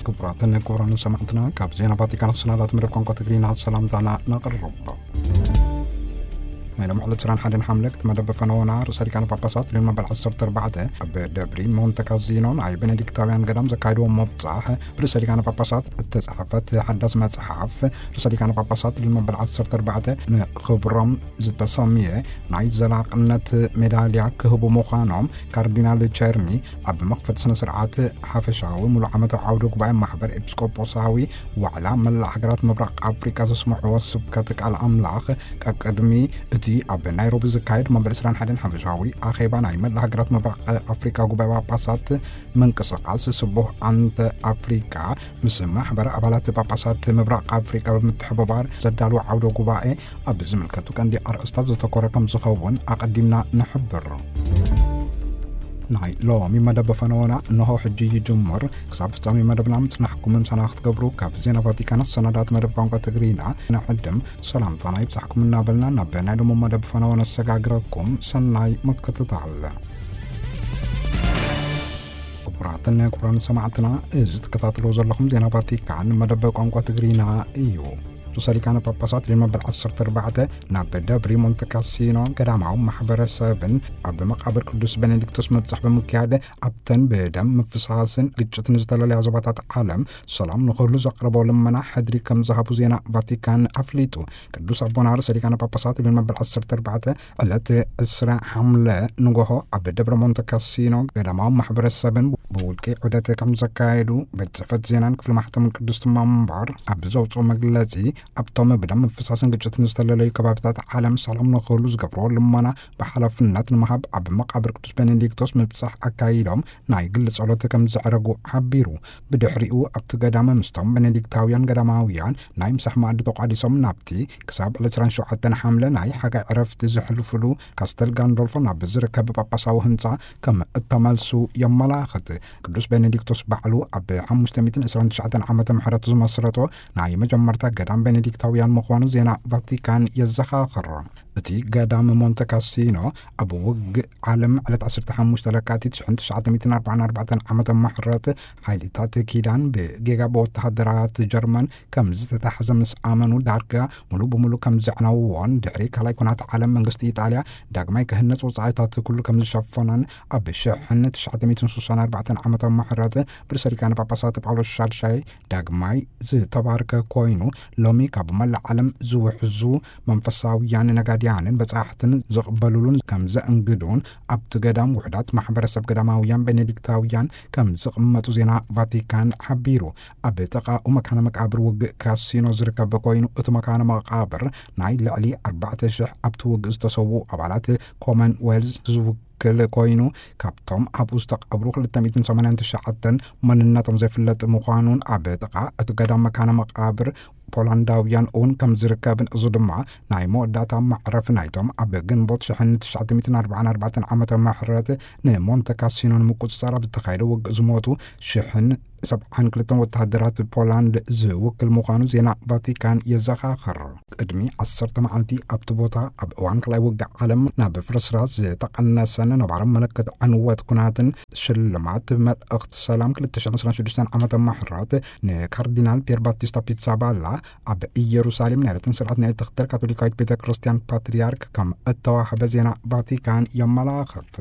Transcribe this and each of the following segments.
ክቡራትን ክቡራንን ሰማዕትና፣ ካብ ዜና ቫቲካን ሰናዳት መደብ ቋንቋ ትግርኛ ሰላምታና ነቕርብ። ናይ ሎም ዕለት ዕስራን ሓደን ሓምለ ክትመደብ ፈነወና ርእሰ ሊቃነ ጳጳሳት ሊዮን መበል ዓሰርተ ኣርባዕተ ኣብ ደብሪ ሞንተ ካዚኖ ናይ ቤኔዲክታውያን ገዳም ዘካየድዎ መብጻሕ፣ ብርእሰ ሊቃነ ጳጳሳት እተጻሕፈት ሓዳስ መጽሓፍ፣ ርእሰ ሊቃነ ጳጳሳት ሊዮን መበል ዓሰርተ ኣርባዕተ ንኽብሮም ዝተሰምየ ናይ ዘላቕነት ሜዳልያ ክህቡ ምዃኖም ካርዲናል ቸርሚ ኣብ መኽፈቲ ስነ ስርዓት ሓፈሻዊ ሙሉእ ዓመታዊ ዓውደ ጉባኤ ማሕበር ኤጲስቆጶሳዊ ዋዕላ መላእ ሃገራት ምብራቕ ኣፍሪቃ ዘስምዕዎ ስብከት ቃል ኣምላኽ፣ ቀቅድሚ እቲ ኣብ ናይሮቢ ዝካየድ መበል ዕስራን ሓደን ሓፈሻዊ ኣኼባ ናይ መላእ ሃገራት ምብራቕ ኣፍሪቃ ጉባኤ ጳጳሳት ምንቅስቓስ ስቡህ ኣንተ ኣፍሪቃ ምስ ማሕበር ኣባላት ጳጳሳት ምብራቕ ኣፍሪቃ ብምትሕብባር ዘዳለዎ ዓውደ ጉባኤ ኣብ ዝምልከቱ ቀንዲ ኣርእስታት ዘተኮረ ከም ዝኸውን ኣቐዲምና ንሕብር። ናይ ሎሚ መደብ ፈነወና እንሆ ሕጂ ይጅምር። ክሳብ ፍጻሜ መደብና ምጽናሕኩም ምሳና ክትገብሩ ካብ ዜና ቫቲካን ሰናዳት መደብ ቋንቋ ትግርኛ ንዕድም ሰላምታና ይብጻሕኩም እናበልና ናብ ናይ ሎሚ መደብ ፈነወ ነሰጋግረኩም። ሰናይ ምክትታል። ክቡራትን ክቡራን ሰማዕትና፣ እዚ ትከታተልዎ ዘለኹም ዜና ቫቲካን መደብ ቋንቋ ትግርኛ እዩ። ርእሰ ሊቃነ ጳጳሳት ሊዮን መበል ዓሰርተ ኣርባዕተ ናብ ደብሪ ሞንተ ካሲኖ ገዳማዊ ማሕበረሰብን ኣብ መቃብር ቅዱስ ቤኔዲክቶስ ምብጻሕ ብምክያድ፣ ኣብተን ብደም ምፍሳስን ግጭትን ዝተለለያ ዞባታት ዓለም ሰላም ንኽህሉ ዘቕረቦ ልመና ሕድሪ ከም ዝሃቡ ዜና ቫቲካን ኣፍሊጡ። ቅዱስ ኣቦና ርእሰ ሊቃነ ጳጳሳት ሊዮን መበል ዓሰርተ ኣርባዕተ ዕለት ዕስራ ሓምለ ንጎሆ ኣብ ደብረ ሞንተ ካሲኖ ገዳማዊ ማሕበረሰብን ብውልቂ ዑደት ከም ዘካየዱ ቤት ጽሕፈት ዜናን ክፍሊ ማሕተምን ቅድስቲ መንበር ኣብ ዘውፅኦ መግለጺ፣ ኣብቶም ብደም ምፍሳስን ግጭትን ዝተለለዩ ከባቢታት ዓለም ሰላም ንኽህሉ ዝገብርዎ ልመና ብሓላፍነት ንምሃብ ኣብ መቃብር ቅዱስ ቤኔዲክቶስ ምብጻሕ ኣካይዶም ናይ ግሊ ጸሎት ከም ዘዕረጉ ሓቢሩ። ብድሕሪኡ ኣብቲ ገዳም ምስቶም ቤኔዲክታውያን ገዳማውያን ናይ ምሳሕ መኣዲ ተቋዲሶም ናብቲ ክሳብ ዕለት ዕስራን ሸውዓተን ሓምለ ናይ ሓጋይ ዕረፍቲ ዘሕልፍሉ ካስተል ጋንዶልፎ ናብ ዝርከብ ጳጳሳዊ ህንጻ ከም እተመልሱ የመላኽት። ቅዱስ ቤኔዲክቶስ ባዕሉ ኣብ ሓሙሽተ ሚእትን ዕስራን ትሽዓተን ዓመተ ምሕረት ዝመስረቶ ናይ መጀመርታ ገዳም ቤኔዲክታውያን ምዃኑ ዜና ቫቲካን የዘኻኽር። እቲ ገዳም ሞንተ ካሲኖ ኣብ ውግእ ዓለም ዕለት ዓሰርተ ሓሙሽተ ለካቲት ሽሕን ትሽዓተ ሚእትን ኣርባዓን ኣርባዕተን ዓመተ ምሕረት ሓይልታት ኪዳን ብጌጋ ብወተሃደራት ጀርመን ከም ዝተታሕዘ ምስ ኣመኑ፣ ዳርጋ ሙሉ ብሙሉ ከም ዘዕነውዎን ድሕሪ ካልኣይ ኩናት ዓለም መንግስቲ ኢጣልያ ዳግማይ ክህነጽ ወጻኢታት ኩሉ ከም ዝሸፈነን ኣብ ሽሕን ትሽዓተ ሚእትን ስሳን ኣርባዕተን ዓመተ ምሕረት ብርእሰ ሊቃነ ጳጳሳት ጳውሎስ ሻድሻይ ዳግማይ ዝተባርከ ኮይኑ፣ ሎሚ ካብ መላእ ዓለም ዝውሕዙ መንፈሳውያን ነጋድያንን በጻሕትን ዝቕበሉሉን ከም ዘእንግዱን ኣብቲ ገዳም ውሑዳት ማሕበረሰብ ገዳማውያን ቤኔዲክታውያን ከም ዝቕመጡ ዜና ቫቲካን ሓቢሩ። ኣብ ጥቓኡ መካነ መቃብር ውግእ ካሲኖ ዝርከብ ኮይኑ፣ እቲ መካነ መቃብር ናይ ልዕሊ ኣርባዕተ ሽሕ ኣብቲ ውግእ ዝተሰዉ ኣባላት ኮመንዌልዝ ዝውክል ኮይኑ፣ ካብቶም ኣብኡ ዝተቐብሩ ክልተ ሚእትን ሰማንያን ትሽዓተን መንነቶም ዘይፍለጥ ምዃኑን ኣብ ጥቓ እቲ ገዳም መካነ መቃብር ፖላንዳውያን እውን ከም ዝርከብን፣ እዚ ድማ ናይ መወዳእታ መዕረፊ ናይቶም ኣብ ግንቦት ሽሕን ትሽዓተ ሚእትን ኣርባዓን ኣርባዕተን ዓመተ ምሕረት ንሞንተ ካሲኖ ንምቁጽጻር ኣብ ዝተኻየደ ውግእ ዝሞቱ ሽሕን ሰብዓን ክልተን ወተሃደራት ፖላንድ ዝውክል ምዃኑ ዜና ቫቲካን የዘኻኽር። ቅድሚ ዓሰርተ መዓልቲ ኣብቲ ቦታ ኣብ እዋን ካልኣይ ውግእ ዓለም ናብ ፍርስራስ ዝተቐነሰን ነባሪ ምልክት ዕንወት ኩናትን ሽልማት መልእኽቲ ሰላም ክልተ ሽሕን ዕስራን ሽዱሽተን ዓመተ ምሕረት ንካርዲናል ፒየር ባቲስታ ፒትሳባላ ኣብ ኢየሩሳሌም ናይ ረትን ስርዓት ናይ እትኽተል ካቶሊካዊት ቤተ ክርስቲያን ፓትርያርክ ከም እተዋህበ ዜና ቫቲካን የመላኽት።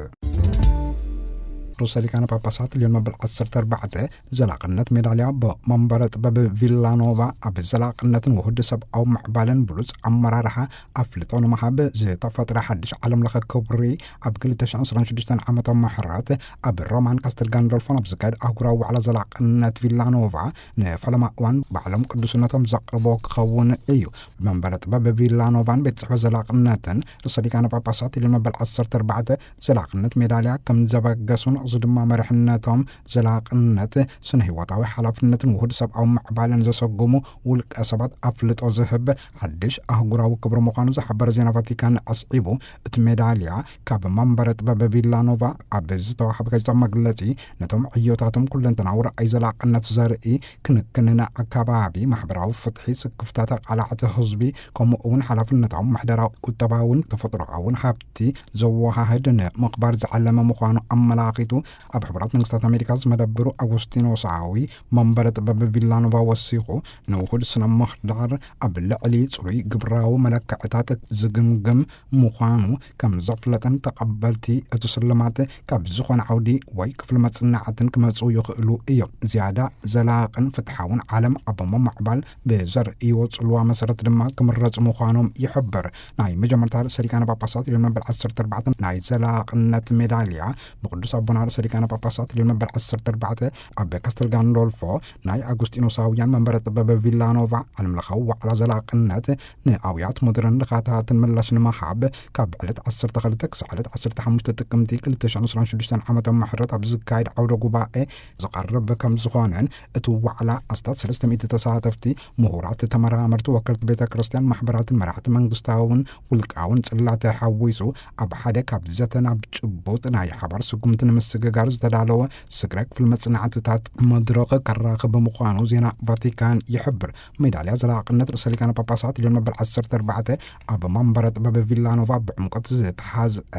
ርእሰ ሊቃነ ጳጳሳት ልዮን መበል ዓሰርተ ኣርባዕተ ዘላቕነት ሜዳልያ ብመንበረ ጥበብ ቪላኖቫ ኣብ ዘላቕነትን ውሁድ ሰብኣዊ ምዕባለን ብሉጽ ኣመራርሓ ኣፍልጦ ንምሃብ ዝተፈጥረ ሓድሽ ዓለም ለኸ ክብሪ ኣብ ክልተ ሽሕን ዕስራን ሽዱሽተን ዓመተ ምሕረት ኣብ ሮማን ካስተል ጋንዶልፎን ኣብ ዝካየድ ኣህጉራዊ ዋዕላ ዘላቕነት ቪላኖቫ ንፈለማ እዋን ባዕሎም ቅዱስነቶም ዘቕርቦ ክኸውን እዩ። ብመንበረ ጥበብ ቪላኖቫን ቤት ጽሕፈት ዘላቕነትን ርእሰ ሊቃነ ጳጳሳት ልዮን መበል ዓሰርተ ኣርባዕተ ዘላቕነት ሜዳልያ ከም ዘበገሱን፣ እዚ ድማ መሪሕነቶም ዘላቕነት፣ ስነ ህይወታዊ ሓላፍነትን ውሁድ ሰብኣዊ ምዕባለን ዘሰጉሙ ውልቀ ሰባት ኣፍልጦ ዝህብ ሓድሽ ኣህጉራዊ ክብሪ ምዃኑ ዝሓበረ ዜና ቫቲካን ኣስዒቡ፣ እቲ ሜዳልያ ካብ መንበረ ጥበብ ቪላኖቫ ኣብ ዝተዋህበ ጋዜጣዊ መግለጺ፣ ነቶም ዕዮታቶም ኩለንተናዊ ረኣይ ዘላቕነት ዘርኢ፣ ክንክንን ኣካባቢ፣ ማሕበራዊ ፍትሒ፣ ስክፍታ ተቓላዕቲ ህዝቢ፣ ከምኡ እውን ሓላፍነታዊ ምሕደራዊ፣ ቁጠባውን ተፈጥሮኣውን ሃብቲ ዘወሃህድ ንምቕባር ዝዓለመ ምዃኑ ኣመላኺቱ፣ ኣብ ሕቡራት መንግስታት ኣሜሪካ ዝመደብሩ ኣጉስቲኖሳዊ መንበረ ጥበብ ቪላኖቫ ወሲኹ፣ ንውሁድ ስነ ምህዳር ኣብ ልዕሊ ጽሩይ ግብራዊ መለክዕታት ዝግምግም ምዃኑ ከም ዘፍለጠን፣ ተቐበልቲ እቲ ስልማት ካብ ዝኾነ ዓውዲ ወይ ክፍሊ መጽናዕትን ክመጹ ይኽእሉ እዮም። ዝያዳ ዘላቕን ፍትሓውን ዓለም ኣብ ምምዕባል ብዘርእይዎ ጽልዋ መሰረት ድማ ክምረጹ ምዃኖም ይሕብር። ናይ መጀመርታ ርእሰ ሊቃነ ጳጳሳት ልዮን መበል ዓሰርተ ኣርባዕተ ናይ ዘላቕነት ሜዳልያ ብቅዱስ ኣቦና ርእሰ ሊቃነ ጳጳሳት ልዮን መበል ዓሰርተ ኣርባዕተ ኣብ ካስተል ጋንዶልፎ ናይ ኣጉስጢኖሳውያን መንበረ ጥበብ ቪላኖቫ ዓለምለኻዊ ዋዕላ ዘላቕነት ንኣውያት ሞደርን ድኻታትን ምላሽ ንምሃብ ካብ ዕለት ዓሰርተ ክልተ ክሳዕ ዕለት ዓሰርተ ሓሙሽተ ጥቅምቲ ክልተ ሽሕን ዕስራን ሽዱሽተን ዓመተ ምሕረት ኣብ ዝካየድ ዓውደ ጉባኤ ዝቐርብ ከም ዝኾነን፣ እቲ ዋዕላ ኣስታት ሰለስተ ሚእቲ ተሳተፍቲ፣ ምሁራት፣ ተመራመርቲ፣ ወከልቲ ቤተ ክርስቲያን፣ ማሕበራትን መራሕቲ መንግስታውን ውልቃውን ጽላት ሓዊሱ፣ ኣብ ሓደ ካብ ዘተ ናብ ጭቡጥ ናይ ሓባር ስጉምቲ ንምስግጋር ዝተዳለወ ስግረ ክፍሊ መጽናዕትታት መድረኽ ከራኽብ ምዃኑ ዜና ቫቲካን ይሕብር። ሜዳልያ ዘላቕነት ርእሰ ሊቃነ ጳጳሳት ልዮን መበል ዓሰርተ ኣርባዕተ ኣብ መንበረ ጥበብ ቪላኖቫ ብዕምቆት ዝተሓዝአ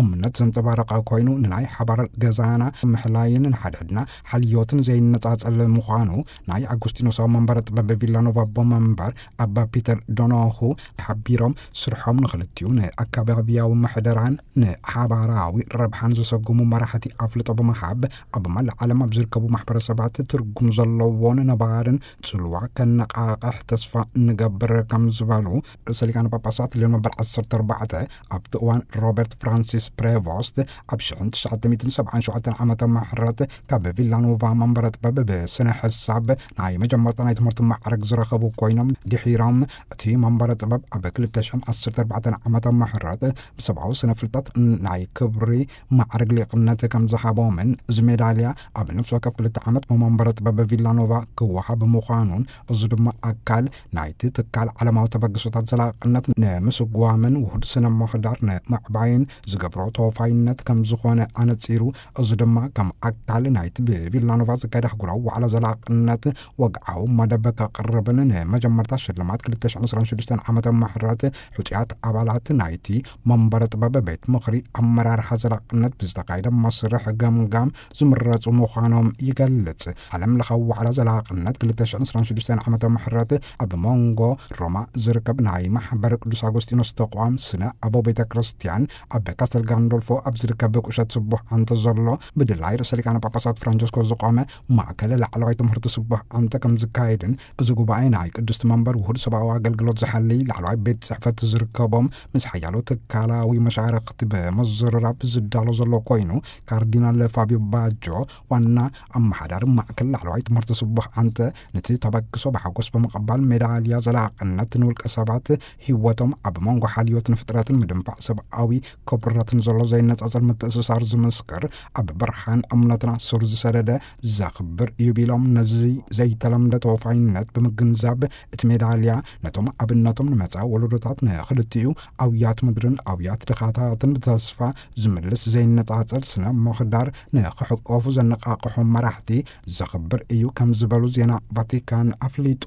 እምነት ዘንጸባረቐ ኮይኑ፣ ንናይ ሓባር ገዛና ምሕላይን ንሓድሕድና ሓልዮትን ዘይነጻጸል ምዃኑ ናይ ኣጉስቲኖሳዊ መንበረ ጥበብ ቪላኖቫ ኣቦ መንበር ኣባ ፒተር ዶኖሁ ሓቢሮም፣ ስርሖም ንኽልቲኡ ንኣካባቢያዊ ምሕደራን ንሓባራዊ ረብሓን ዘሰጉሙ መራሕቲ ኣፍልጦ ብምሃብ፣ ኣብ መላእ ዓለም ኣብ ዝርከቡ ማሕበረሰባት ትርጉም ዘለዎን ነባርን ጽልዋ ከነቓቕሕ ተስፋ ንገብር ከም ዝበሉ ርእሰ ሊቃነ ጳጳሳት ልዮን መበል ዓሰርተ ኣርባዕተ ኣብቲ እዋን ሮበርት ፍራንሲስ ፕሬቮስት ኣብ ሽሕን ትሽዓተ ሚእትን ሰብዓን ሸውዓተን ዓመተ ምሕረት ካብ ቪላኖቫ መንበረ ጥበብ ብስነ ሕሳብ ናይ መጀመርታ ናይ ትምህርቲ ማዕረግ ዝረኸቡ ኮይኖም፣ ድሒሮም እቲ መንበረ ጥበብ ኣብ ክልተ ሽሕን ዓሰርተ ኣርባዕተን ዓመተ ምሕረት ብሰብኣዊ ስነ ፍልጠት ናይ ክብሪ ማዕረግ ሊቅነት ከም ዝሃቦምን፣ እዚ ሜዳልያ ኣብ ነፍሲ ወከፍ ክልተ ዓመት ብመንበረ ጥበብ ቪላኖቫ ክወሃብ ምዃኑን፣ እዚ ድማ ኣካል ናይቲ ትካል ዓለማዊ ተበግሶታት ዘላቕነት ንምስጓምን ውሁድ ስነ ምህዳር ንምዕባይን ዝገብሮ ተወፋይነት ከም ዝኾነ ኣነጺሩ፣ እዚ ድማ ከም ኣካል ናይቲ ብቪላኖቫ ዝካየድ ኣህጉራዊ ዋዕላ ዘላቕነት ወግዓዊ መደብ ከቕርብን፣ ንመጀመርታ ሽልማት ክልተ ሽሕን ዕስራን ሽዱሽተን ዓመተ ምሕረት ሕጹያት ኣባላት ናይቲ መንበረ ጥበብ ቤት ምኽሪ ኣመራርሓ ዘላቕነት ብዝተኻየደ መስርሕ ገምጋም ዝምረጹ ምዃኖም ይገልጽ። ዓለም ለኻዊ ዋዕላ ዘላቕነት ክልተ ሽሕን ዕስራን ሽዱሽተን ዓመተ ምሕረት ኣብ መንጎ ሮማ ዝርከብ ናይ ማሕበር ቅዱስ ኣጎስጢኖስ ተቋም ስነ ኣቦ ቤተ ክርስቲያን ኣብ ካስተል ጋንዶልፎ ኣብ ዝርከብ ቁሸት ስቡሕ ኣንተ ዘሎ ብድላይ ርእሰ ሊቃነ ጳጳሳት ፍራንቸስኮ ዝቆመ ማእከል ላዕለዋይ ትምህርቲ ስቡሕ ኣንተ ከም ዝካየድን፣ እዚ ጉባኤ ናይ ቅድስቲ መንበር ውሁድ ሰብኣዊ ኣገልግሎት ዝሓልይ ላዕለዋይ ቤት ጽሕፈት ዝርከቦም ምስ ሓያሎ ትካላዊ መሻርኽቲ ብምዝርራብ ዝዳሎ ዘሎ ኮይኑ፣ ካርዲናል ፋቢዮ ባጆ ዋና ኣመሓዳሪ ማእከል ላዕለዋይ ትምህርቲ ስቡሕ ኣንተ ነቲ ተበግሶ ብሓጎስ ብምቕባል፣ ሜዳልያ ዘላቕነት ንውልቀ ሰባት ህይወቶም ኣብ መንጎ ሓልዮት ንፍጥረትን ምድንፋዕ ሰብኣዊ ክብረትን ዘሎ ዘይነጻጸል ምትእስሳር ዝምስክር፣ ኣብ ብርሃን እምነትና ሱር ዝሰደደ ዘኽብር እዩ ቢሎም፣ ነዚ ዘይተለምደ ተወፋይነት ብምግንዛብ፣ እቲ ሜዳልያ ነቶም ኣብነቶም ንመጻኢ ወለዶታት፣ ንኽልቲኡ ኣውያት ምድርን ኣውያት ድኻታትን ብተስፋ ዝምልስ ዘይነጻጸል ስነ ምህዳር ንኽሕቆፉ ዘነቓቕሖም መራሕቲ ዘኽብር እዩ ከም ዝበሉ ዜና ቫቲካን ኣፍሊጡ።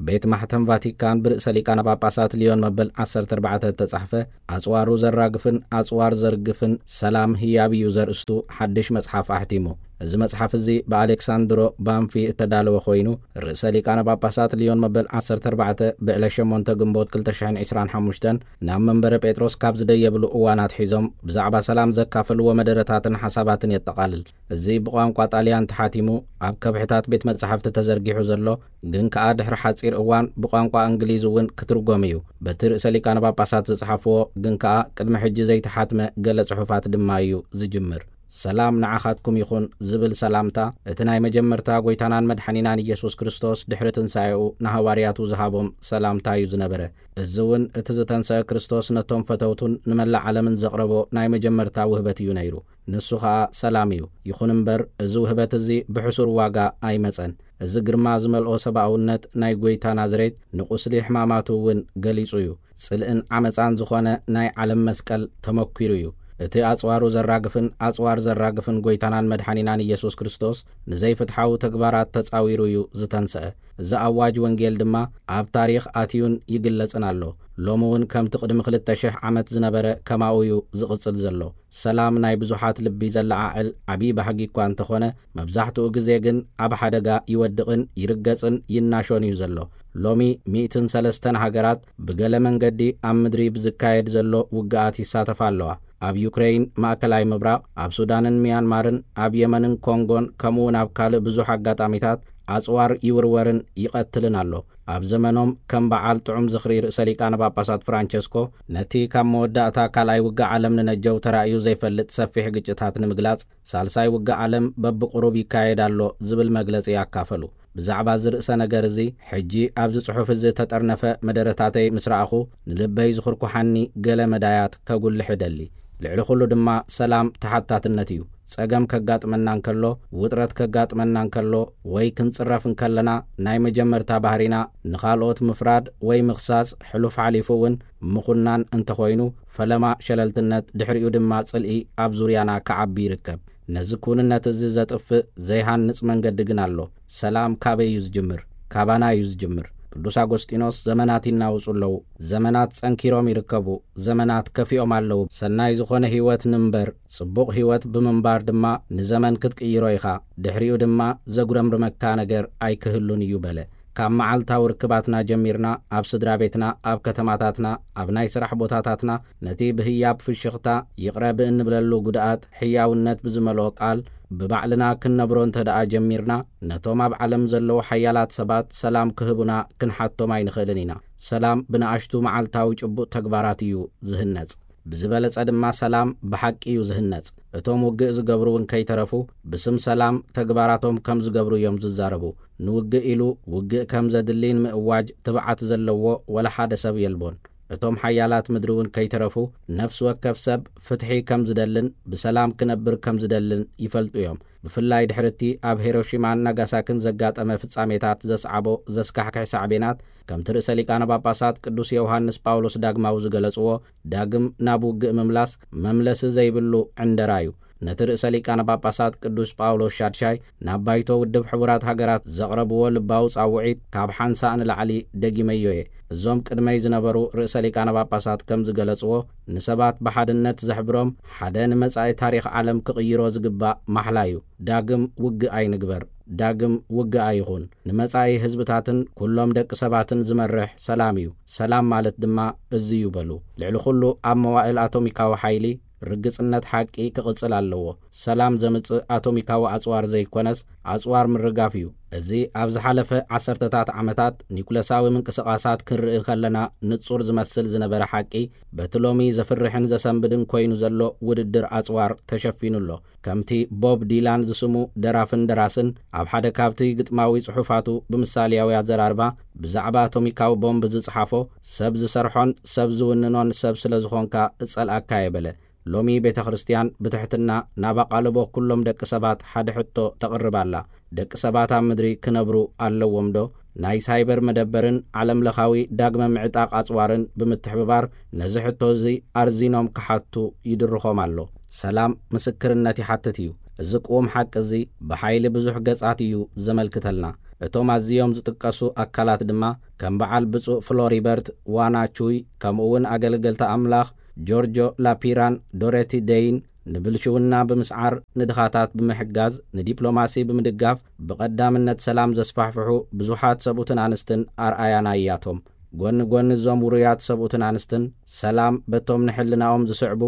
ቤት ማሕተም ቫቲካን ብርእሰ ሊቃነ ጳጳሳት ሊዮን መበል ዓሰርተ ኣርባዕተ እተጻሕፈ ኣጽዋሩ ዘራግፍን ኣጽዋር ዘርግፍን ሰላም ህያብ እዩ ዘርእስቱ ሓድሽ መጽሓፍ ኣሕቲሙ። እዚ መጽሓፍ እዚ ብኣሌክሳንድሮ ባንፊ እተዳለወ ኮይኑ፣ ርእሰ ሊቃነ ጳጳሳት ሊዮን መበል ዓሰርተ ኣርባዕተ ብዕለት ሸሞንተ ግንቦት ክልተ ሽሕን ዕስራን ሓሙሽተን ናብ መንበረ ጴጥሮስ ካብ ዝደየብሉ እዋን ኣትሒዞም ብዛዕባ ሰላም ዘካፈልዎ መደረታትን ሓሳባትን የጠቓልል። እዚ ብቋንቋ ጣልያን ተሓቲሙ ኣብ ከብሕታት ቤት መጻሕፍቲ ተዘርጊሑ ዘሎ፣ ግን ከኣ ድሕሪ ሓጺር እዋን ብቋንቋ እንግሊዝ እውን ክትርጎም እዩ። በቲ ርእሰ ሊቃነ ጳጳሳት ዝጸሓፍዎ፣ ግን ከኣ ቅድሚ ሕጂ ዘይተሓትመ ገለ ጽሑፋት ድማ እዩ ዝጅምር። ሰላም ንዓኻትኩም ይኹን ዝብል ሰላምታ፣ እቲ ናይ መጀመርታ ጐይታናን መድሓኒናን ኢየሱስ ክርስቶስ ድሕሪ ትንሳኤኡ ንሃዋርያቱ ዝሃቦም ሰላምታ እዩ ዝነበረ። እዚ እውን እቲ ዝተንሰአ ክርስቶስ ነቶም ፈተውቱን ንመላእ ዓለምን ዘቕረቦ ናይ መጀመርታ ውህበት እዩ ነይሩ። ንሱ ኸኣ ሰላም እዩ። ይኹን እምበር፣ እዚ ውህበት እዚ ብሕሱር ዋጋ ኣይመጸን። እዚ ግርማ ዝመልኦ ሰብኣውነት ናይ ጐይታ ናዝሬት ንቁስሊ ሕማማቱ እውን ገሊጹ እዩ። ጽልእን ዓመጻን ዝኾነ ናይ ዓለም መስቀል ተመኲሩ እዩ። እቲ ኣጽዋሩ ዘራግፍን ኣጽዋር ዘራግፍን ጐይታናን መድሓኒናን ኢየሱስ ክርስቶስ ንዘይፍትሓዊ ተግባራት ተጻዊሩ እዩ ዝተንስአ። እዚ ኣዋጅ ወንጌል ድማ ኣብ ታሪኽ ኣትዩን ይግለጽን ኣሎ። ሎሚ እውን ከምቲ ቅድሚ ክልተ ሽሕ ዓመት ዝነበረ ከማኡ እዩ ዝቕጽል ዘሎ። ሰላም ናይ ብዙሓት ልቢ ዘለዓዕል ዓብዪ ባህጊ እኳ እንተኾነ፣ መብዛሕትኡ ግዜ ግን ኣብ ሓደጋ ይወድቕን ይርገጽን ይናሾን እዩ ዘሎ። ሎሚ ሚእትን ሰለስተን ሃገራት ብገለ መንገዲ ኣብ ምድሪ ብዝካየድ ዘሎ ውግኣት ይሳተፋ ኣለዋ። ኣብ ዩክሬይን፣ ማእከላይ ምብራቕ፣ ኣብ ሱዳንን ሚያንማርን፣ ኣብ የመንን ኮንጎን፣ ከምኡውን ኣብ ካልእ ብዙሕ ኣጋጣሚታት ኣጽዋር ይውርወርን ይቐትልን ኣሎ። ኣብ ዘመኖም ከም በዓል ጥዑም ዝኽሪ ርእሰ ሊቃነ ጳጳሳት ፍራንቸስኮ፣ ነቲ ካብ መወዳእታ ካልኣይ ውግእ ዓለም ንነጀው ተራእዩ ዘይፈልጥ ሰፊሕ ግጭታት ንምግላጽ፣ ሳልሳይ ውግእ ዓለም በብቕሩብ ይካየድ ኣሎ ዝብል መግለጺ ኣካፈሉ። ብዛዕባ እዚ ርእሰ ነገር እዚ፣ ሕጂ ኣብዚ ጽሑፍ እዚ እተጠርነፈ መደረታተይ ምስ ረኣኹ፣ ንልበይ ዝኹርኩሓኒ ገለ መዳያት ከጉልሕ እደሊ። ልዕሊ ኹሉ ድማ ሰላም ተሓታትነት እዩ። ጸገም ከጋጥመና እንከሎ፣ ውጥረት ከጋጥመና እንከሎ፣ ወይ ክንጽረፍ እንከለና፣ ናይ መጀመርታ ባህሪና ንኻልኦት ምፍራድ ወይ ምኽሳስ፣ ሕሉፍ ሓሊፉ እውን ምኹናን እንተኾይኑ፣ ፈለማ ሸለልትነት፣ ድሕሪኡ ድማ ጽልኢ ኣብ ዙርያና ክዓቢ ይርከብ። ነዚ ክውንነት እዚ ዘጥፍእ ዘይሃንጽ መንገዲ ግን ኣሎ። ሰላም ካበይ እዩ ዝጅምር? ካባና እዩ ዝጅምር። ቅዱስ ኣጎስጢኖስ፣ "ዘመናት ይናወጹ ኣለዉ፣ ዘመናት ጸንኪሮም ይርከቡ፣ ዘመናት ከፊኦም ኣለዉ። ሰናይ ዝኾነ ህይወት ንንበር፣ ጽቡቕ ህይወት ብምንባር ድማ ንዘመን ክትቅይሮ ኢኻ። ድሕሪኡ ድማ ዘጉረምርመካ ነገር ኣይክህሉን እዩ" በለ። ካብ መዓልታዊ ርክባትና ጀሚርና፣ ኣብ ስድራ ቤትና፣ ኣብ ከተማታትና፣ ኣብ ናይ ስራሕ ቦታታትና፣ ነቲ ብህያብ ፍሽኽታ ይቕረ ብእንብለሉ ጉድኣት፣ ሕያውነት ብዝመልኦ ቃል ብባዕልና ክንነብሮ እንተ ደኣ ጀሚርና፣ ነቶም ኣብ ዓለም ዘለዉ ሓያላት ሰባት ሰላም ክህቡና ክንሓቶም ኣይንኽእልን ኢና። ሰላም ብንኣሽቱ መዓልታዊ ጭቡጥ ተግባራት እዩ ዝህነጽ። ብዝበለጸ ድማ ሰላም ብሓቂ እዩ ዝህነጽ። እቶም ውግእ ዝገብሩ እውን ከይተረፉ፣ ብስም ሰላም ተግባራቶም ከም ዝገብሩ እዮም ዝዛረቡ። ንውግእ ኢሉ ውግእ ከም ዘድሊ ንምእዋጅ ትብዓት ዘለዎ ወላ ሓደ ሰብ የልቦን። እቶም ሓያላት ምድሪ እውን ከይተረፉ፣ ነፍሲ ወከፍ ሰብ ፍትሒ ከም ዝደልን ብሰላም ክነብር ከም ዝደልን ይፈልጡ እዮም። ብፍላይ ድሕሪ እቲ ኣብ ሄሮሺማን ናጋሳክን ዘጋጠመ ፍጻሜታት ዘስዓቦ ዘስካሕክሕ ሳዕቤናት፣ ከምቲ ርእሰ ሊቃነ ጳጳሳት ቅዱስ ዮሃንስ ጳውሎስ ዳግማዊ ዝገለጽዎ፣ ዳግም ናብ ውግእ ምምላስ መምለሲ ዘይብሉ ዕንደራ እዩ። ነቲ ርእሰ ሊቃነ ጳጳሳት ቅዱስ ጳውሎስ ሻድሻይ ናብ ባይቶ ውድብ ሕቡራት ሃገራት ዘቕረብዎ ልባዊ ጻውዒት ካብ ሓንሳእ ንላዕሊ ደጊመዮ እየ። እዞም ቅድመይ ዝነበሩ ርእሰ ሊቃነ ጳጳሳት ከም ዝገለጽዎ፣ ንሰባት ብሓድነት ዘሕብሮም ሓደ ንመጻኢ ታሪኽ ዓለም ክቕይሮ ዝግባእ ማሕላ እዩ። ዳግም ውግእ ኣይንግበር፣ ዳግም ውግእ ኣይኹን። ንመጻኢ ህዝብታትን ኩሎም ደቂ ሰባትን ዝመርሕ ሰላም እዩ። ሰላም ማለት ድማ እዚ እዩ በሉ። ልዕሊ ኩሉ ኣብ መዋእል ኣቶሚካዊ ሓይሊ ርግጽነት ሓቂ ክቕጽል ኣለዎ። ሰላም ዘምጽእ ኣቶሚካዊ ኣጽዋር ዘይኮነስ፣ ኣጽዋር ምርጋፍ እዩ። እዚ ኣብ ዝሓለፈ ዓሰርተታት ዓመታት ኒኩለሳዊ ምንቅስቓሳት ክንርኢ ከለና ንጹር ዝመስል ዝነበረ ሓቂ፣ በቲ ሎሚ ዘፍርሕን ዘሰንብድን ኮይኑ ዘሎ ውድድር ኣጽዋር ተሸፊኑ ኣሎ። ከምቲ ቦብ ዲላን ዝስሙ ደራፍን ደራስን ኣብ ሓደ ካብቲ ግጥማዊ ጽሑፋቱ ብምሳልያዊ ኣዘራርባ ብዛዕባ ኣቶሚካዊ ቦምብ ዝጸሓፎ፣ "ሰብ ዝሰርሖን ሰብ ዝውንኖን ሰብ ስለ ዝኾንካ እጸልኣካ እየ" በለ። ሎሚ ቤተ ክርስቲያን ብትሕትና ናብ ኣቓልቦ ኩሎም ደቂ ሰባት ሓደ ሕቶ ተቕርብ ኣላ። ደቂ ሰባት ኣብ ምድሪ ክነብሩ ኣለዎም ዶ? ናይ ሳይበር መደበርን ዓለም ለኻዊ ዳግመ ምዕጣቕ ኣጽዋርን ብምትሕብባር ነዚ ሕቶ እዚ ኣርዚኖም ክሓቱ ይድርኾም ኣሎ። ሰላም ምስክርነት ይሓትት እዩ። እዚ ቅዉም ሓቂ እዚ ብሓይሊ ብዙሕ ገጻት እዩ ዘመልክተልና። እቶም ኣዝዮም ዝጥቀሱ ኣካላት ድማ ከም በዓል ብፁዕ ፍሎሪበርት ዋና ቹይ፣ ከምኡ እውን ኣገልገልቲ ኣምላኽ ጆርጆ ላፒራን ዶረቲ ደይን፣ ንብልሽውና ብምስዓር፣ ንድኻታት ብምሕጋዝ፣ ንዲፕሎማሲ ብምድጋፍ፣ ብቐዳምነት ሰላም ዘስፋሕፍሑ ብዙሓት ሰብኡትን ኣንስትን ኣርኣያና እያቶም። ጎኒ ጎኒ እዞም ውሩያት ሰብኡትን ኣንስትን፣ ሰላም በቶም ንሕልናኦም ዝስዕቡ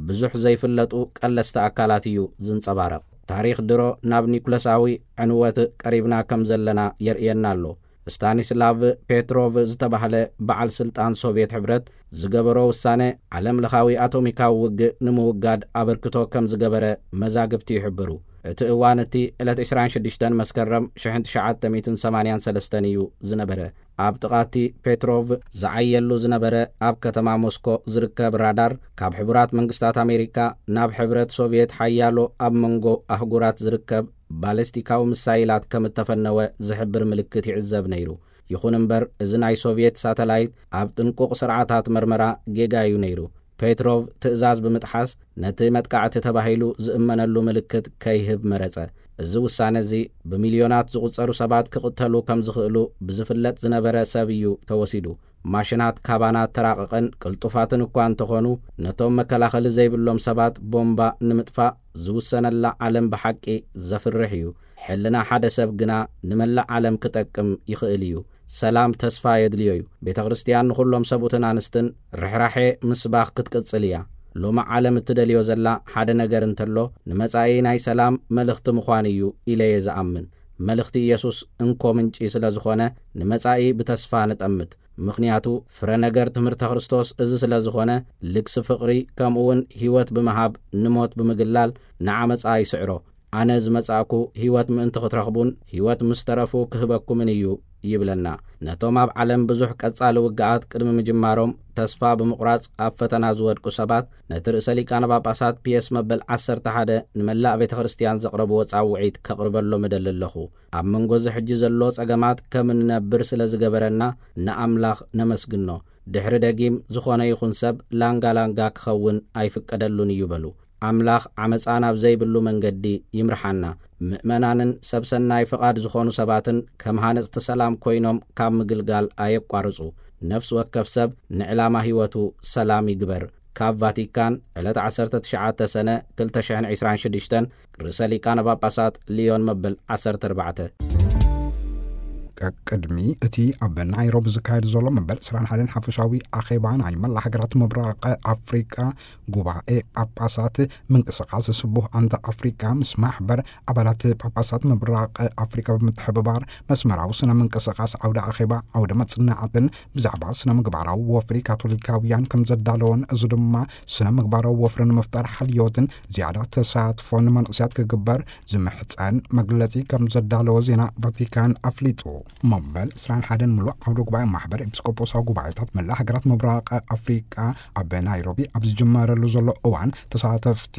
ብዙሕ ዘይፍለጡ ቀለስቲ ኣካላት እዩ ዝንጸባረቕ። ታሪኽ ድሮ ናብ ኒኩለሳዊ ዕንወት ቀሪብና ከም ዘለና የርእየና ኣሎ። ስታኒስላቭ ፔትሮቭ ዝተባህለ በዓል ስልጣን ሶቭየት ሕብረት ዝገበሮ ውሳነ፣ ዓለም ለኻዊ ኣቶሚካዊ ውግእ ንምውጋድ ኣበርክቶ ከም ዝገበረ መዛግብቲ ይሕብሩ። እቲ እዋን እቲ ዕለት ዕስራን ሽዱሽተን መስከረም ሽሕን ትሽዓተ ሚእትን ሰማንያን ሰለስተን እዩ ዝነበረ። ኣብ ጥቓቲ ፔትሮቭ ዝዓየሉ ዝነበረ ኣብ ከተማ ሞስኮ ዝርከብ ራዳር፣ ካብ ሕቡራት መንግስታት ኣሜሪካ ናብ ሕብረት ሶቭየት ሓያሎ ኣብ መንጎ ኣህጉራት ዝርከብ ባለስቲካዊ ሚሳይላት ከም እተፈነወ ዝሕብር ምልክት ይዕዘብ ነይሩ። ይኹን እምበር፣ እዚ ናይ ሶቭየት ሳተላይት ኣብ ጥንቁቕ ስርዓታት መርመራ ጌጋ እዩ ነይሩ። ፔትሮቭ ትእዛዝ ብምጥሓስ፣ ነቲ መጥቃዕቲ ተባሂሉ ዝእመነሉ ምልክት ከይህብ መረጸ። እዚ ውሳነ እዚ፣ ብሚልዮናት ዝቑጸሩ ሰባት ክቕተሉ ከም ዝኽእሉ ብዝፍለጥ ዝነበረ ሰብ እዩ ተወሲዱ። ማሽናት ካባና ተራቐቐን ቅልጡፋትን እኳ እንተኾኑ፣ ነቶም መከላኸሊ ዘይብሎም ሰባት ቦምባ ንምጥፋእ ዝውሰነላ ዓለም ብሓቂ ዘፍርሕ እዩ። ሕልና ሓደ ሰብ ግና ንመላእ ዓለም ክጠቅም ይኽእል እዩ። ሰላም ተስፋ የድልዮ እዩ። ቤተ ክርስቲያን ንኹሎም ሰብኡትን ኣንስትን ርሕራሐ ምስባኽ ክትቅጽል እያ። ሎሚ ዓለም እትደልዮ ዘላ ሓደ ነገር እንተሎ፣ ንመጻኢ ናይ ሰላም መልእኽቲ ምዃን እዩ ኢለ እየ ዝኣምን። መልእኽቲ ኢየሱስ እንኮ ምንጪ ስለ ዝኾነ፣ ንመጻኢ ብተስፋ ንጠምት። ምኽንያቱ ፍረ ነገር ትምህርተ ክርስቶስ እዚ ስለ ዝኾነ፣ ልግሲ ፍቕሪ፣ ከምኡ እውን ህይወት ብምሃብ ንሞት ብምግላል ንዓመጻ ይስዕሮ። ኣነ ዝመጻእኩ ህይወት ምእንቲ ክትረኽቡን ህይወት ምስ ተረፉ ክህበኩምን እዩ ይብለና። ነቶም ኣብ ዓለም ብዙሕ ቀጻሊ ውግኣት ቅድሚ ምጅማሮም ተስፋ ብምቑራጽ ኣብ ፈተና ዝወድቁ ሰባት፣ ነቲ ርእሰ ሊቃነ ጳጳሳት ፒየስ መበል ዓሰርተ ሓደ ንመላእ ቤተ ክርስቲያን ዘቕረብዎ ጻውዒት ከቕርበሎም እደሊ ኣለኹ። ኣብ መንጎ እዚ ሕጂ ዘሎ ጸገማት ከም እንነብር ስለ ዝገበረና ንኣምላኽ ነመስግኖ። ድሕሪ ደጊም ዝኾነ ይኹን ሰብ ላንጋ ላንጋ ክኸውን ኣይፍቀደሉን እዩ በሉ። ኣምላኽ ዓመጻ ናብ ዘይብሉ መንገዲ ይምርሓና። ምእመናንን ሰብ ሰናይ ፍቓድ ዝኾኑ ሰባትን ከም ሃነጽቲ ሰላም ኮይኖም ካብ ምግልጋል ኣየቋርጹ። ነፍሲ ወከፍ ሰብ ንዕላማ ህይወቱ ሰላም ይግበር። ካብ ቫቲካን ዕለት ዓሰርተ ትሽዓተ ሰነ ክልተ ሽሕን ዕስራን ሽዱሽተን ርእሰ ሊቃነ ጳጳሳት ሊዮን መበል ዓሰርተ ኣርባዕተ። ቅድሚ እቲ ኣብ ናይሮቢ ዝካየድ ዘሎ መበል ዕስራን ሓደን ሓፈሻዊ ኣኼባ ናይ መላ ሃገራት ምብራቕ ኣፍሪቃ ጉባኤ ጳጳሳት ምንቅስቃስ ስቡህ ኣንተ ኣፍሪቃ ምስ ማሕበር ኣባላት ጳጳሳት ምብራቕ ኣፍሪቃ ብምትሕብባር መስመራዊ ስነ ምንቅስቃስ ዓውደ ኣኼባ ዓውደ መጽናዕትን ብዛዕባ ስነ ምግባራዊ ወፍሪ ካቶሊካውያን ከም ዘዳለወን፣ እዚ ድማ ስነ ምግባራዊ ወፍሪ ንምፍጣር ሓልዮትን ዝያዳ ተሳትፎን መንእሰያት ክግበር ዝምሕጸን መግለጺ ከም ዘዳለወ ዜና ቫቲካን ኣፍሊጡ። መበል ዕስራን ሓደን ምሉእ ዓውደ ጉባኤ ማሕበር ኤጲስቆጶሳዊ ጉባኤታት መላእ ሃገራት ምብራቕ ኣፍሪቃ ኣብ ናይሮቢ ኣብ ዝጅመረሉ ዘሎ እዋን፣ ተሳተፍቲ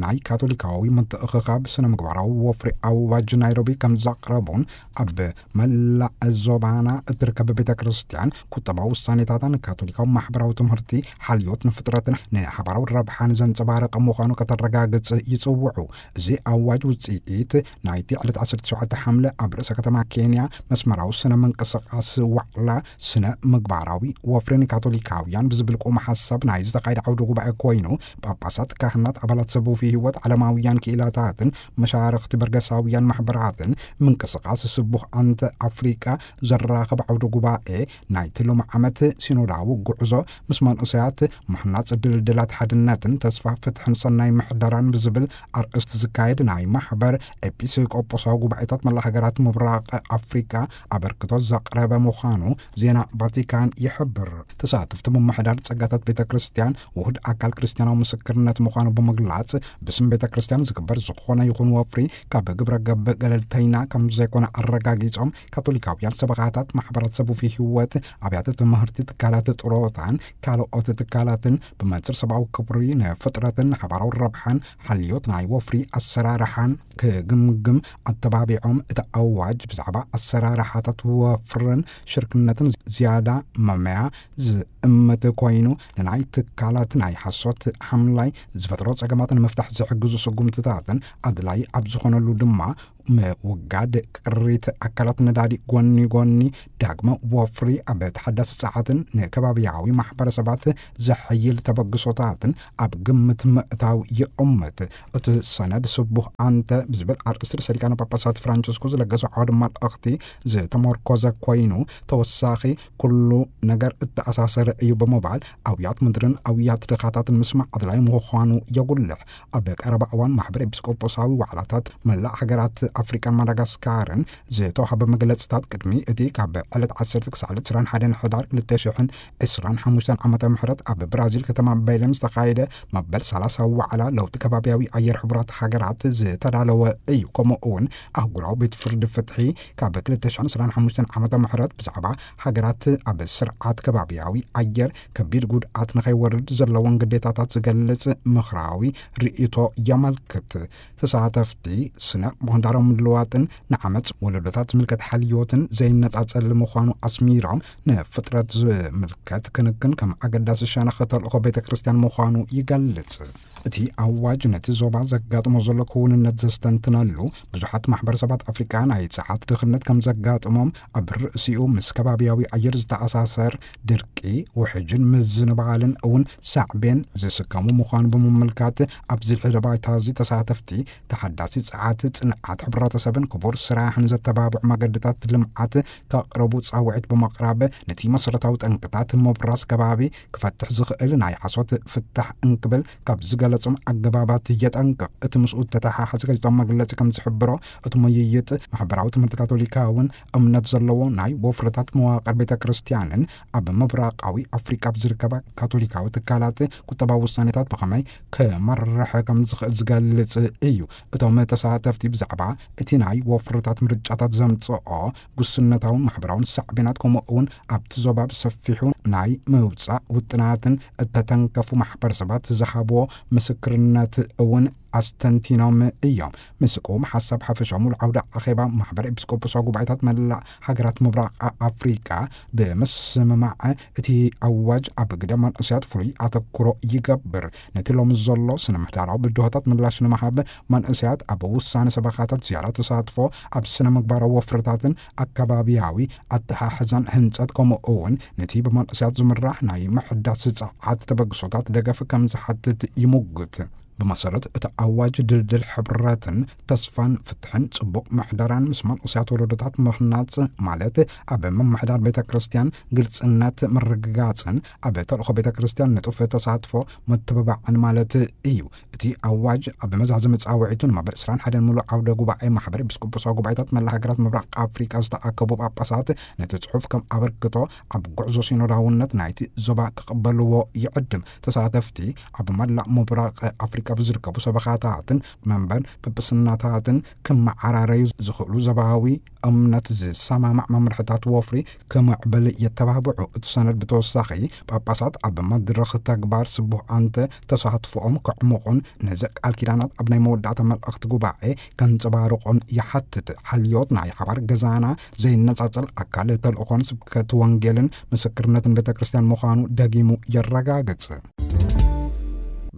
ናይ ካቶሊካዊ ምትእኽኻብ ስነ ምግባራዊ ወፍሪ ኣዋጅ ናይሮቢ ከም ዘቕረቡን፣ ኣብ መላእ ዞባና እትርከብ ቤተ ክርስቲያን ቁጠባዊ ውሳኔታታን ካቶሊካዊ ማሕበራዊ ትምህርቲ ሓልዮት ንፍጥረትን ንሓባራዊ ረብሓን ዘንጸባረቐ ምዃኑ ከተረጋግጽ ይጽውዑ። እዚ ኣዋጅ ውጽኢት ናይቲ ዕለት ዓሰርተ ትሽዓተ ሓምለ ኣብ ርእሰ ከተማ ኬንያ መስመራዊ ስነ ምንቅስቃስ ዋዕላ ስነ ምግባራዊ ወፍሪ ንካቶሊካውያን ብዝብል ቁም ሓሳብ ናይ ዝተኻየደ ዓውደ ጉባኤ ኮይኑ፣ ጳጳሳት፣ ካህናት፣ ኣባላት ሰብ ውፊ ህይወት፣ ዓለማውያን ክኢላታትን መሻርኽቲ በርገሳውያን ማሕበራትን ምንቅስቃስ ስቡህ ኣንተ ኣፍሪቃ ዘራኽብ ዓውደ ጉባኤ ናይቲ ሎሚ ዓመት ሲኖዳዊ ጉዕዞ ምስ መንእሰያት፣ ምሕናጽ ድልድላት ሓድነትን ተስፋ ፍትሕን ሰናይ ምሕደራን ብዝብል ኣርእስቲ ዝካየድ ናይ ማሕበር ኤጲስቆጶሳዊ ጉባኤታት መላ ሃገራት ምብራቕ ኣፍሪቃ ኣበርክቶ ዘቕረበ ምዃኑ ዜና ቫቲካን ይሕብር። ተሳተፍቲ ምምሕዳር ጸጋታት ቤተ ክርስቲያን ውሁድ ኣካል ክርስቲያናዊ ምስክርነት ምዃኑ ብምግላጽ፣ ብስም ቤተ ክርስቲያን ዝግበር ዝኾነ ይኹን ወፍሪ ካብ ግብረ ገብ ገለልተይና ከም ዘይኮነ ኣረጋጊጾም፣ ካቶሊካውያን ሰበኻታት፣ ማሕበራት ሰብ ውፊ ህይወት፣ ኣብያተ ትምህርቲ፣ ትካላት ጥሮታን ካልኦት ትካላትን ብመንጽር ሰብኣዊ ክብሪ ንፍጥረትን ንሓባራዊ ረብሓን ሓልዮት ናይ ወፍሪ ኣሰራርሓን ክግምግም ኣተባቢዖም፣ እቲ ኣዋጅ ብዛዕባ ኣሰራርሓታት ወፍርን ሽርክነትን ዝያዳ መመያ ዝእምት ኮይኑ፣ ንናይ ትካላት ናይ ሓሶት ሓምላይ ዝፈጥሮ ጸገማት ንምፍታሕ ዝሕግዙ ስጉምትታትን ኣድላይ ኣብ ዝኾነሉ ድማ ምውጋድ ቅሪት ኣካላት ነዳዲ ጎኒ ጎኒ ዳግመ ወፍሪ ኣብ ተሓዳሲ ጸዓትን ንከባቢያዊ ማሕበረሰባት ዘሐይል ተበግሶታትን ኣብ ግምት ምእታው ይእምት። እቲ ሰነድ ስቡህ ኣንተ ብዝብል ኣርእስቲ ርእሰ ሊቃነ ጳጳሳት ፍራንቸስኮ ዝለገሶ ዓውደ መልእኽቲ ዝተመርኮዘ ኮይኑ፣ ተወሳኺ ኩሉ ነገር እተኣሳሰረ እዩ ብምባል፣ ኣውያት ምድርን ኣውያት ድኻታትን ምስማዕ ኣድላይ ምዃኑ የጉልሕ። ኣብ ቀረባ እዋን ማሕበር ኤጲስቆጶሳዊ ዋዕላታት መላእ ሃገራት ኣፍሪቃን ማዳጋስካርን ዝተዋህበ መግለጽታት፣ ቅድሚ እቲ ካብ ዕለት ዓሰርተ ክሳዕ ዕለት ዕስራን ሓደን ሕዳር ክልተ ሽሕን ዕስራን ሓሙሽተን ዓመተ ምህረት ኣብ ብራዚል ከተማ ቤሌም ዝተኻየደ መበል ሰላሳዊ ዋዕላ ለውጢ ከባቢያዊ ኣየር ሕቡራት ሃገራት ዝተዳለወ እዩ። ከምኡ እውን ኣህጉራዊ ቤት ፍርዲ ፍትሒ ካብ ክልተ ሽሕን ዕስራን ሓሙሽተን ዓመተ ምህረት ብዛዕባ ሃገራት ኣብ ስርዓት ከባቢያዊ ኣየር ከቢድ ጉድኣት ንኸይወርድ ዘለወን ግዴታታት ዝገልጽ ምኽራዊ ርእይቶ የመልክት። ተሳተፍቲ ስነ ምህዳራዊ ምልዋጥን ንዓመፅ ወለዶታት ዝምልከት ሓልዮትን ዘይነፃፀል ምዃኑ ኣስሚሮም፣ ንፍጥረት ዝምልከት ክንክን ከም ኣገዳሲ ሸነኽ ተልእኾ ቤተ ክርስቲያን ምዃኑ ይገልጽ። እቲ ኣዋጅ ነቲ ዞባ ዘጋጥሞ ዘሎ ክውንነት ዘስተንትነሉ፣ ብዙሓት ማሕበረሰባት ኣፍሪቃ ናይ ጸዓት ድኽነት ከም ዘጋጥሞም፣ ኣብ ርእሲኡ ምስ ከባብያዊ ኣየር ዝተኣሳሰር ድርቂ፣ ውሕጅን ምዝንባልን እውን ሳዕቤን ዝስከሙ ምዃኑ ብምምልካት፣ ኣብዚ ሕደ ባይታ እዚ ተሳተፍቲ ተሓዳሲ ጸዓት ጽንዓት ሕብረተሰብን ክቡር ስራሕን ዘተባብዑ መገድታት ልምዓት ከቕርቡ ጻውዒት ብምቕራብ፣ ነቲ መሰረታዊ ጠንቅታት ምብራስ ከባቢ ክፈትሕ ዝኽእል ናይ ሓሶት ፍታሕ እንክብል ካብ ዝገለጾም ኣገባባት የጠንቅቕ። እቲ ምስኡ ተተሓሓዘ ጋዜጣዊ መግለጺ ከም ዝሕብሮ፣ እቲ ምይይጥ ማሕበራዊ ትምህርቲ ካቶሊካውን እምነት ዘለዎ ናይ ወፍርታት መዋቕር ቤተ ክርስቲያንን ኣብ ምብራቓዊ ኣፍሪቃ ኣብ ዝርከባ ካቶሊካዊ ትካላት ቁጠባዊ ውሳኔታት ብኸመይ ክመርሕ ከም ዝኽእል ዝገልጽ እዩ። እቶም ተሳተፍቲ ብዛዕባ እቲ ናይ ወፍርታት ምርጫታት ዘምጽኦ ጉስነታውን ማሕበራውን ሳዕቤናት፣ ከምኡ እውን ኣብቲ ዞባ ብሰፊሑ ናይ ምውጻእ ውጥናትን እተተንከፉ ማሕበረሰባት ዝሃብዎ ምስክርነት እውን ኣስተንቲኖም እዮም። ምስ ቅውም ሓሳብ ሓፈሻዊ ሙሉ ዓውደ ኣኼባ ማሕበር ኤጲስቆጶሳዊ ጉባኤታት መላእ ሃገራት ምብራቕ ኣፍሪቃ ብምስምማዕ፣ እቲ ኣዋጅ ኣብ ግደ መንእሰያት ፍሉይ ኣተኩሮ ይገብር። ነቲ ሎሚ ዘሎ ስነ ምህዳራዊ ብድሆታት ምላሽ ንምሃብ፣ መንእሰያት ኣብ ውሳነ ሰበኻታት ዝያዳ ተሳትፎ ኣብ ስነ ምግባራዊ ወፍርታትን ኣከባብያዊ ኣተሓሕዛን ህንጸት፣ ከምኡ እውን ነቲ ብመንእሰያት ዝምራሕ ናይ ምሕዳስ ጸዓት ተበግሶታት ደገፍ ከም ዝሓትት ይሙግት። ብመሰረት እቲ ኣዋጅ፣ ድልድል ሕብረትን ተስፋን ፍትሕን ጽቡቕ ምሕደራን ምስ መንእሰያት ወለዶታት ምህናጽ፣ ማለት ኣብ ምምሕዳር ቤተ ክርስቲያን ግልጽነት ምርግጋጽን ኣብ ተልእኾ ቤተ ክርስቲያን ንጡፍ ተሳትፎ ምትብባዕን ማለት እዩ። እቲ ኣዋጅ ኣብ መዛዘሚ ጻውዒቱ ንማሕበር ዕስራን ሓደን ምሉእ ዓውደ ጉባኤ ማሕበር ኤጲስቆጶሳዊ ጉባኤታት መላ ሃገራት ምብራቕ ኣፍሪቃ ዝተኣከቡ ጳጳሳት ነቲ ጽሑፍ ከም ኣበርክቶ ኣብ ጉዕዞ ሲኖዳውነት ናይቲ ዞባ ክቕበልዎ ይዕድም። ተሳተፍቲ ኣብ መላእ ምብራቕ ኣፍሪቃ ብዝርከቡ ሰበኻታትን መንበር ጵጵስናታትን ክመዓራረዩ ዝኽእሉ ዞባዊ እምነት ዝሰማማዕ መምርሕታት ወፍሪ ክምዕብል የተባብዑ። እቲ ሰነድ ብተወሳኺ ጳጳሳት ኣብ መድረኽ ተግባር ስቡሕ ኣንተ ተሳትፎኦም ከዕምቑን ነዚ ቃል ኪዳናት ኣብ ናይ መወዳእታ መልእኽቲ ጉባኤ ከንጸባርቖን ይሓትት። ሓልዮት ናይ ሓባር ገዛና ዘይነጻጸል ኣካል ተልእኾን ስብከት ወንጌልን ምስክርነትን ቤተ ክርስቲያን ምዃኑ ደጊሙ የረጋግጽ።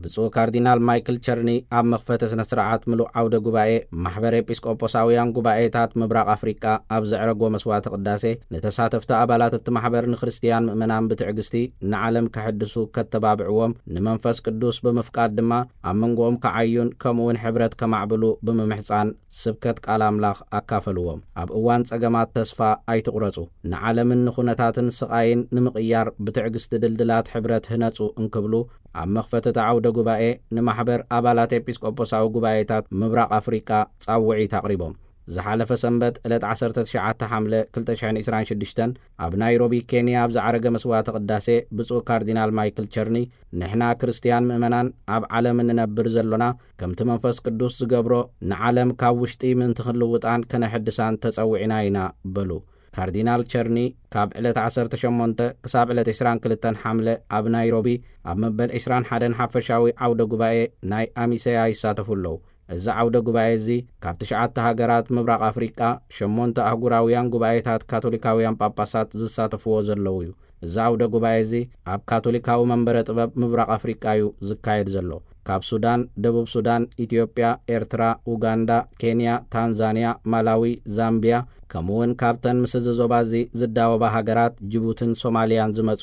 ብፁዕ ካርዲናል ማይክል ቸርኒ ኣብ መኽፈቲ ስነ ስርዓት ምሉእ ዓውደ ጉባኤ ማሕበር ኤጲስቆጶሳውያን ጉባኤታት ምብራቕ ኣፍሪቃ ኣብ ዘዕረጎ መስዋዕተ ቅዳሴ፣ ንተሳተፍቲ ኣባላት እቲ ማሕበር ንክርስትያን ምእመናን ብትዕግስቲ ንዓለም ከሐድሱ ከተባብዕዎም፣ ንመንፈስ ቅዱስ ብምፍቃድ ድማ ኣብ መንጎኦም ከዓዩን ከምኡውን ሕብረት ከማዕብሉ ብምምሕጻን ስብከት ቃል ኣምላኽ ኣካፈልዎም። ኣብ እዋን ጸገማት ተስፋ ኣይትቑረጹ፣ ንዓለምን ንኹነታትን ስቓይን ንምቕያር ብትዕግስቲ ድልድላት ሕብረት ህነጹ እንክብሉ ኣብ መኽፈቲ እቲ ዓውደ ጉባኤ ንማሕበር ኣባላት ኤጲስቆጶሳዊ ጉባኤታት ምብራቕ ኣፍሪቃ ጻውዒት ኣቕሪቦም። ዝሓለፈ ሰንበት ዕለት ዓሰርተ ትሽዓተ ሓምለ ክልተ ሽሕን ዕስራን ሽዱሽተን ኣብ ናይሮቢ ኬንያ ኣብ ዝዓረገ መስዋዕተ ቅዳሴ ብፁዕ ካርዲናል ማይክል ቸርኒ፣ ንሕና ክርስትያን ምእመናን ኣብ ዓለም እንነብር ዘሎና ከምቲ መንፈስ ቅዱስ ዝገብሮ ንዓለም ካብ ውሽጢ ምእንቲ ክንልውጣን ከነሐድሳን ተጸዊዕና ኢና በሉ። ካርዲናል ቸርኒ ካብ ዕለት ዓሰርተ ሸሞንተ ክሳብ ዕለት ዕስራን ክልተን ሓምለ ኣብ ናይሮቢ ኣብ መበል ዕስራን ሓደን ሓፈሻዊ ዓውደ ጉባኤ ናይ ኣሚሰያ ይሳተፉ ኣለዉ። እዚ ዓውደ ጉባኤ እዚ ካብ ትሽዓተ ሃገራት ምብራቕ ኣፍሪቃ ሸሞንተ ኣህጉራውያን ጉባኤታት ካቶሊካውያን ጳጳሳት ዝሳተፍዎ ዘለዉ እዩ። እዚ ዓውደ ጉባኤ እዚ ኣብ ካቶሊካዊ መንበረ ጥበብ ምብራቕ ኣፍሪቃ እዩ ዝካየድ ዘሎ። ካብ ሱዳን፣ ደቡብ ሱዳን፣ ኢትዮጵያ፣ ኤርትራ፣ ኡጋንዳ፣ ኬንያ፣ ታንዛንያ፣ ማላዊ፣ ዛምቢያ፣ ከምኡ እውን ካብተን ምስ እዚ ዞባ እዚ ዝዳወባ ሃገራት ጅቡትን ሶማልያን ዝመጹ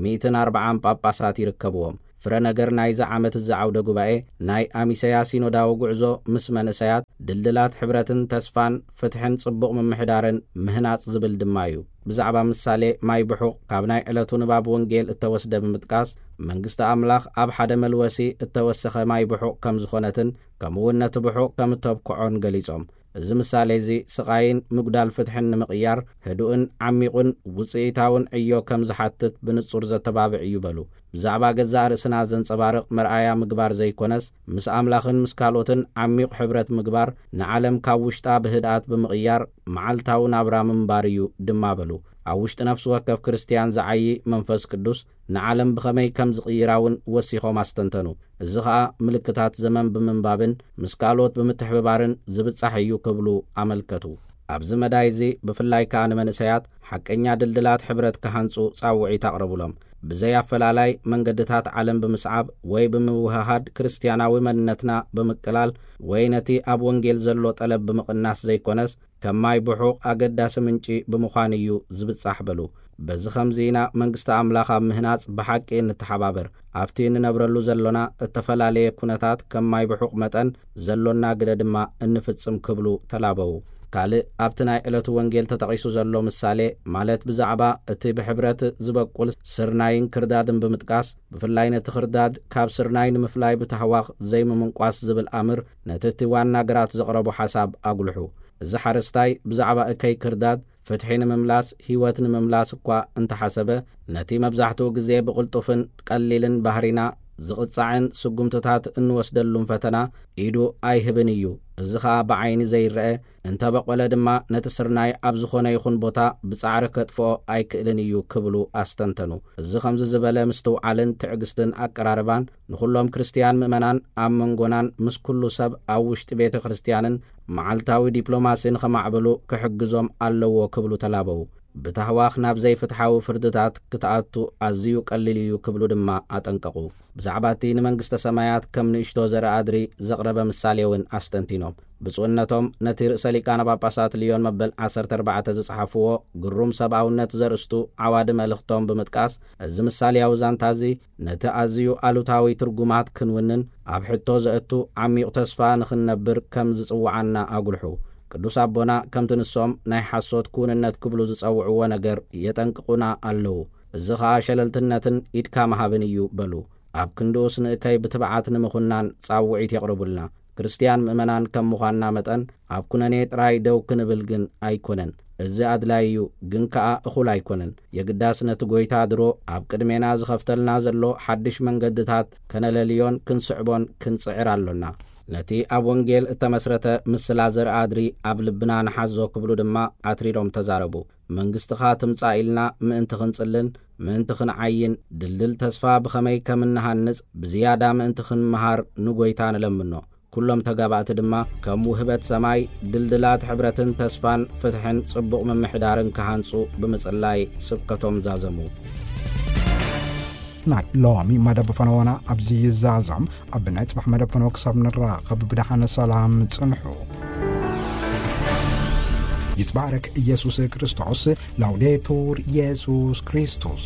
ሚእትን ኣርብዓን ጳጳሳት ይርከብዎም። ፍረ ነገር ናይዚ ዓመት እዚ ዓውደ ጉባኤ ናይ ኣሚሰያ ሲኖዳዊ ጉዕዞ ምስ መንእሰያት፣ ድልድላት ሕብረትን ተስፋን ፍትሕን ጽቡቕ ምምሕዳርን ምህናጽ ዝብል ድማ እዩ። ብዛዕባ ምሳሌ ማይ ብሑቕ ካብ ናይ ዕለቱ ንባብ ወንጌል እተወስደ ብምጥቃስ፣ መንግስቲ ኣምላኽ ኣብ ሓደ መልወሲ እተወሰኸ ማይ ብሑቕ ከም ዝኾነትን ከምኡውን ነቲ ብሑቕ ከም እተብክዖን ገሊጾም። እዚ ምሳሌ እዚ ስቓይን ምጉዳል ፍትሕን ንምቕያር ህዱእን ዓሚቑን ውጽኢታውን ዕዮ ከም ዝሓትት ብንጹር ዘተባብዕ እዩ በሉ። ብዛዕባ ገዛእ ርእስና ዘንጸባርቕ መርኣያ ምግባር ዘይኮነስ፣ ምስ ኣምላኽን ምስ ካልኦትን ዓሚቕ ሕብረት ምግባር፣ ንዓለም ካብ ውሽጣ ብህድኣት ብምቕያር መዓልታዊ ናብራ ምንባር እዩ ድማ በሉ። ኣብ ውሽጢ ነፍሲ ወከፍ ክርስትያን ዝዓዪ መንፈስ ቅዱስ ንዓለም ብኸመይ ከም ዝቕይራ እውን ወሲኾም ኣስተንተኑ። እዚ ኸኣ ምልክታት ዘመን ብምንባብን ምስ ካልኦት ብምትሕብባርን ዝብጻሕ እዩ ክብሉ ኣመልከቱ። ኣብዚ መዳይ እዚ ብፍላይ ከኣ ንመንእሰያት ሓቀኛ ድልድላት ሕብረት ክሃንጹ ጻውዒት ኣቕረቡሎም። ብዘይ ኣፈላላይ መንገድታት ዓለም ብምስዓብ ወይ ብምውህሃድ ክርስትያናዊ መንነትና ብምቅላል ወይ ነቲ ኣብ ወንጌል ዘሎ ጠለብ ብምቕናስ ዘይኮነስ ከም ማይ ብሑቕ ኣገዳሲ ምንጪ ብምዃን እዩ ዝብጻሕ በሉ። በዚ ኸምዚ ኢና መንግስቲ ኣምላኽ ኣብ ምህናጽ ብሓቂ እንተሓባበር። ኣብቲ እንነብረሉ ዘሎና እተፈላለየ ኩነታት ከም ማይ ብሑቕ መጠን ዘሎና ግደ ድማ እንፍጽም ክብሉ ተላበዉ። ካልእ ኣብቲ ናይ ዕለቱ ወንጌል ተጠቒሱ ዘሎ ምሳሌ ማለት ብዛዕባ እቲ ብሕብረት ዝበቁል ስርናይን ክርዳድን ብምጥቃስ ብፍላይ ነቲ ክርዳድ ካብ ስርናይ ንምፍላይ ብታህዋኽ ዘይምምንቋስ ዝብል ኣምር ነቲ እቲ ዋና ግራት ዘቕረቦ ሓሳብ ኣጉልሑ። እዚ ሓረስታይ ብዛዕባ እከይ ክርዳድ ፍትሒ ንምምላስ ህይወት ንምምላስ እኳ እንተሓሰበ ነቲ መብዛሕትኡ ግዜ ብቕልጡፍን ቀሊልን ባህሪና ዝቕጻዕን ስጉምትታት እንወስደሉን ፈተና ኢዱ ኣይህብን እዩ። እዚ ኸኣ ብዓይኒ ዘይረአ እንተበቆለ ድማ ነቲ ስርናይ ኣብ ዝኾነ ይኹን ቦታ ብጻዕሪ ከጥፍኦ ኣይክእልን እዩ ክብሉ ኣስተንተኑ። እዚ ከምዚ ዝበለ ምስትውዓልን ትዕግስትን ኣቀራርባን ንኹሎም ክርስትያን ምእመናን ኣብ መንጎናን ምስ ኩሉ ሰብ ኣብ ውሽጢ ቤተ ክርስትያንን መዓልታዊ ዲፕሎማሲ ንኸማዕብሉ ክሕግዞም ኣለዎ ክብሉ ተላበዉ። ብታህዋኽ ናብ ዘይፍትሓዊ ፍርድታት ክትኣቱ ኣዝዩ ቀሊል እዩ ክብሉ ድማ ኣጠንቀቑ። ብዛዕባ እቲ ንመንግስተ ሰማያት ከም ንእሽቶ ዘርኢ ኣድሪ ዘቕረበ ምሳሌ እውን ኣስተንቲኖም። ብፁዕነቶም ነቲ ርእሰ ሊቃነ ጳጳሳት ልዮን መበል ዓሰርተ ኣርባዕተ ዝጸሓፍዎ ግሩም ሰብኣውነት ዘርእስቱ ዓዋዲ መልእኽቶም ብምጥቃስ፣ እዚ ምሳሌያዊ ዛንታ እዚ ነቲ ኣዝዩ ኣሉታዊ ትርጉማት ክንውንን ኣብ ሕቶ ዘእቱ ዓሚቕ ተስፋ ንኽንነብር ከም ዝጽውዓና ኣጉልሑ። ቅዱስ ኣቦና ከምቲ ንሶም ናይ ሓሶት ክውንነት ክብሉ ዝጸውዕዎ ነገር የጠንቅቑና ኣለዉ። እዚ ኸኣ ሸለልትነትን ኢድካ ምሃብን እዩ በሉ። ኣብ ክንድኡስ ንእከይ ብትብዓት ንምኹናን ጻውዒት የቕርቡልና። ክርስትያን ምእመናን ከም ምዃንና መጠን ኣብ ኩነኔ ጥራይ ደው ክንብል ግን ኣይኮነን። እዚ ኣድላይ እዩ፣ ግን ከኣ እኹል ኣይኮነን። የግዳስ ነቲ ጐይታ ድሮ ኣብ ቅድሜና ዝኸፍተልና ዘሎ ሓድሽ መንገድታት ከነለልዮን ክንስዕቦን ክንጽዕር ኣሎና። ነቲ ኣብ ወንጌል እተመስረተ ምስላ ዘርኢ ኣድሪ ኣብ ልብና ንሓዞ ክብሉ ድማ ኣትሪሮም ተዛረቡ። መንግስትኻ ትምጻእ ኢልና ምእንቲ ክንጽልን ምእንቲ ክንዓይን ድልድል ተስፋ ብኸመይ ከም እንሃንጽ ብዝያዳ ምእንቲ ክንምሃር ንጐይታ ንለምኖ። ኩሎም ተጋባእቲ ድማ ከም ውህበት ሰማይ ድልድላት ሕብረትን ተስፋን ፍትሕን ጽቡቕ ምምሕዳርን ክሃንጹ ብምጽላይ ስብከቶም ዛዘሙ። ናይ ሎሚ መደብ ፈነወና ኣብዚ ይዛዘም። ኣብ ናይ ጽባሕ መደብ ፈነወ ክሳብ ንራኸብ ብደሓነ ሰላም ጽንሑ። ይትባረክ ኢየሱስ ክርስቶስ። ላውዴቱር ኢየሱስ ክርስቶስ።